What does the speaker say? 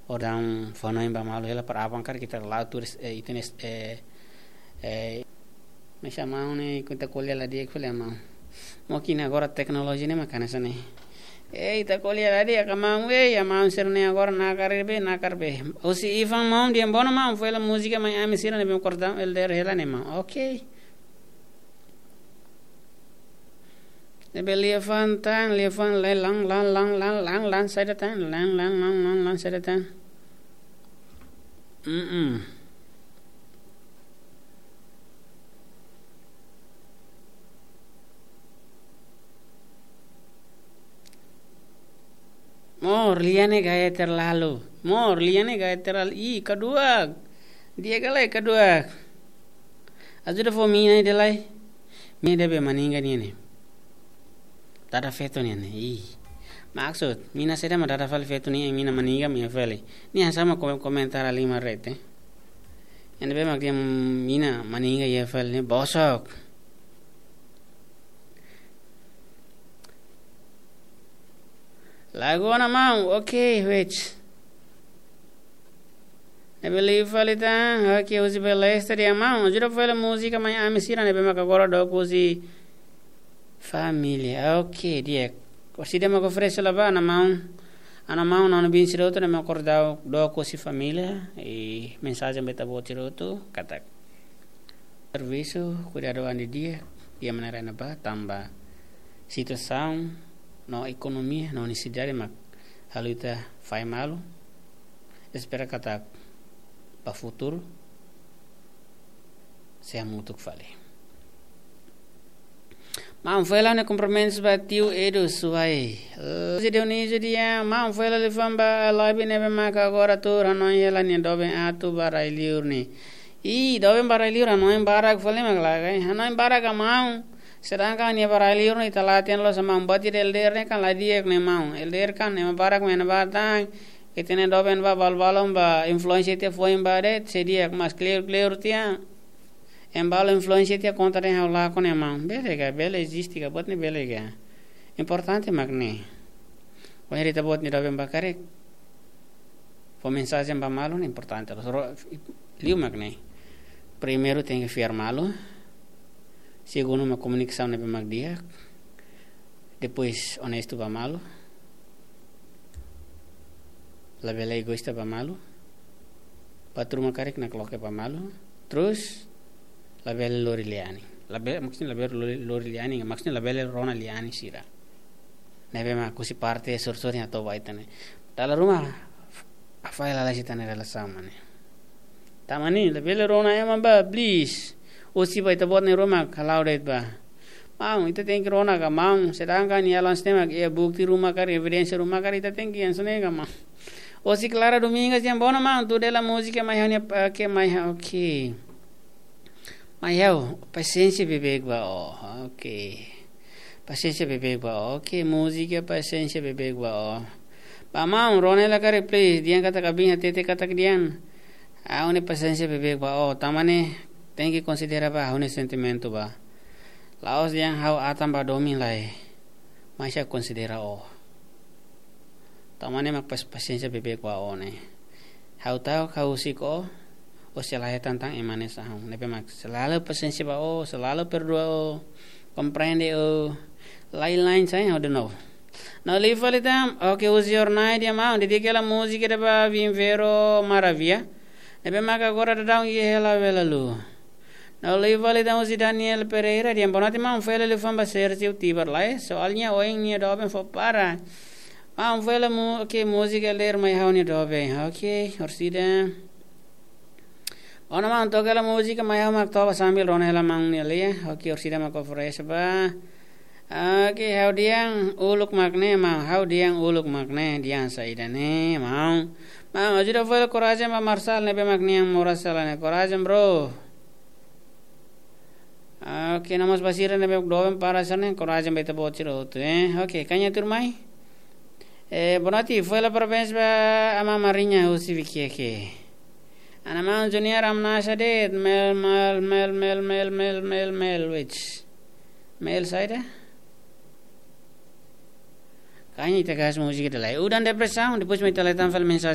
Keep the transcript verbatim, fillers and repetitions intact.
Odan fonoin ba malu hela para aban karik ita la'o turis, eh, ita ne'e, eh, eh, mesak maun ne'e, kuandu ita ko'alia la di'ak fali maun. Mungkin agora teknolojia ne'e mak hanesan ne'e. Eh, ita ko'alia la di'ak ka maun, eh, ya maun sira ne'e agora nakar be, nakar be. Husi Ivan maun, dehan bom ona maun, foin hela múzika mai ami sira ne'ebé kordam elder hela ne'e maun. Oke. Ne'ebé liafuan tan, liafuan lai lan, lan, lan, lan, lan, lan, saida tan, lan, lan, lan, lan, lan, saida tan. Mm-mm. Mor, lia ne'e gaya terlalu. Mor, lia ne'e gaya terlalu. Ih, kaduak. Di'ak ka lae, kaduak. Ajuda fó mina ida lai. Mina ida be maninga nian ne'e. Dada feto nian ne'e. Ih. Maksud, mina saida mak dada fali feto nian, mina maninga, mina fali. Nia sama kom-, komentar lima rete. Ne'ebé mak dehan mina maninga iha fali ne'e bosok. Lagu ona maun, oke, wait. Ne'ebé liu fali tan, oke, husi Balestra dehan maun, ajuda foin hela múzika mai ami sira ne'ebé maka agora dook husi família. Oke, di'ak. Orsida mak oferese la ba, ana maun. Ana maun, nonu bin sira hotu ne'ebé mak agora dook husi família. I mensajen ba ita-boot sira hotu, katak servisu, kuidadu an di'ak, di'ak maneira ne'ebá, tanba situasaun no ekonomia, no nesesidade mak halo ita fahe malu, espera katak ba futuru sei hamutuk fali. Maun foin hela ne'e kompromisu ba tiu Edu Suai. José Dionísio dehan, maun foin hela liafuan ba Alabi ne'ebé maka agora tuur hanoin hela nia doben atu ba rai-liur ne'e. Ih, doben ba rai-liur hanoin barak fali mak lagai. Hanoin barak ka maun. Sedangkan nia ba rai-liur ne'e ita la hatene loos maun, buat ida elder ne'e kan la di'ak ne'e maun. Elder kan ema barak mak iha ne'ebá tan. Ita-nia doben ba balu-balun ba influénsia tiha foin ba de'it, sei di'ak, mas kleur-kleur tiha. Ema balu influénsia tiha kontra dehan ha'u lakon ne'e maun. Bele ka, bele eziste ka, buat ne'e bele ka. Importante mak ne'e. Wainhira ita-boot nia doben ba karik fó mensajen ba malu ne'e importante. Ro-, liu mak ne'e. Primeiru tenke fiar malu. Segundu mak komunikasaun ne'ebé mak di'ak. Depois onestu ba malu. Labele egoísta ba malu. Buat ruma karik nakloke ba malu. Terus labele lori lia-anin. Labele, maksudnya labele lori, lori lia-anin, maksudnya labele rona lia-anin sira. Ne'ebé mak husi parte sorin-sorin hato'o ba ita ne'e. Dala ruma hafael lalais ita-nia relasaun mak ne'e. Tanba ne'e, labele rona ema ba, please. Husi ba ita-boot nia ruma, kalau de'it ba. Maun, ita tenke rona ka maun, sedangkan iha lans tema ke bukti ruma karik, evidénsia ruma karik, ita tenke hanesan ne'e ka maun. Husi Clara Domingas dehan bom ona maun, tuur hela múzika mai ha'u-nia, oke, mai ha'u, oke. Mai ha'u, pasiénsia beibeik ba ó, oke. Pasiénsia beibeik ba ó, oke, múzika pasiénsia beibeik ba ó. Ba maun, rona hela karik, please, dehan katak abin hatete katak dehan. Ha'u-nia pasiénsia beibeik ba ó, tanba ne'e, tenke konsidera ba ha'u-nia sentimentu ba. La'ós dehan ha'u atan ba domin lai. Mas ha'u konsidera ó. Tanba ne'e mak pas-, pasiénsia beibeik ba ó ne'e. Ha'u ta'uk ha'u husik ó, ó sei la hetan tan ema ne'e sahun. Ne'ebé mak selalu pasiénsia ba ó, selalu perdua ó, komprende ó. Lain-lain sai ha'u de novo. No liu fali tan, oke, husi Ornai dehan maun, dedika hela múzika ida ba Vim Ver ó Maravilha. Ne'ebé maka agora daudaun iha hela bela lu. No liu fali tan husi Daniel Pereira dehan boa noite maun, foin hela liafuan ba Sergio Tibar lai. Soalnya oin nia doben fó para. Maun foin hela mu-, oke, múzika elder mai ha'u-nia doben. Oke, orsida. Bom ona maun, toka hela múzika mai ha'u mak toba sambil rona hela maun nia lia. Oke, orsida mak oferese ba. Oke, ha'u dehan uluk mak ne'e maun, ha'u dehan uluk mak ne'e, dehan saida ne'e maun. Maun, ajuda foin hela korajen ba Marsal ne'ebé mak nia moras sala ne'e. Korajen, bro. Oke, no mós ba sira ne'ebé doben para sira ne'e, korajen ba ita-boot sira hotu, eh. Oke, kaña tuur mai. Eh, boa noite, foin hela parabéns ba Ama Mariña husi Viqueque. Ana maun Junior Amnasa de'it, mel, mel, mel, mel, mel, mel, mel, which? Mel saida? Kaña ita gás múzika ida lai. Udan depresaun, depois mai ita lai tan fali mensajen.